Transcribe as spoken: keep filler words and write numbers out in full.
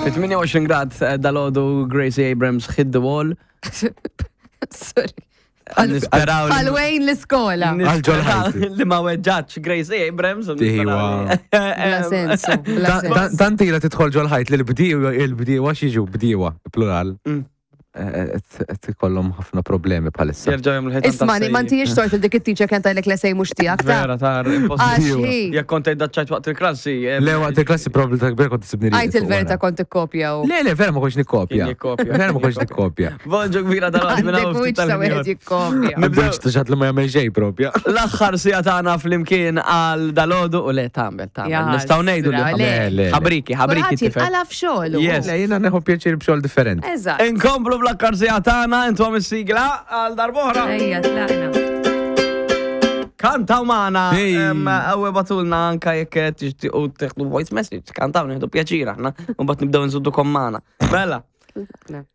Fi tmienja u għoxrin grad eh, dalgħodu, Gracie Abrams, "Hit the Wall". Sorry. Nisperaw li- Bħal Wayne l-iskola. Għal ġol ħajti. Li ma weġġatx Gracie Abrams. U Tiħiwa. Bla sensu, bla sens. Tant ila tidħol ġol ħajt li l-bdiewa, il-bdiewa x'jiġu bdiewa, plural. Mm. Qed ikollhom ħafna problemi bħalissa. Jerġgħu jagħmlu ħitan. Ismani, ma ntijiex tort il dik it-teacher kien tajlek l-essay mhux tiegħek ta' Vera, tar, impossibbli. Għax hi. Jekk kont tgħid waqt il-klassi. eh, Le, waqt il-klassi probabli ta' kbir kont tsibni. Għajt il-verità, kont ikkopja u. Le, le, vera ma kontx nikkopja. Kien jikkopja. Vera ma kontx nikkopja. Bonġu kbira dal-għad minn Għandek wiċċ ta' wieħed jikkopja. Nibdew xi li ma jagħmel xejn propja. L-aħħar siegħa tagħna flimkien għal dalgħodu u le tagħmel tagħmel. Ja, Nistgħu ngħidu li le. Le, le, le. Ħabriki, ħabriki Kulħadd tifel. jinqala f'xogħlu. Yes. Le, jiena neħu pjaċir b'xogħol differenti. Eżatt. Inkomplu bl-aħħar siegħa tagħna, intom is-sigla għal darb'oħra. Ejja, tlaqna. Kantaw magħna, Hey. em, u ibagħtulna anka jekk tixtiequ teħdu voice message. Kantaw, nieħdu pjaċir aħna, u mbagħad nibdew nżuddukom magħna. Mela. Tlaqna.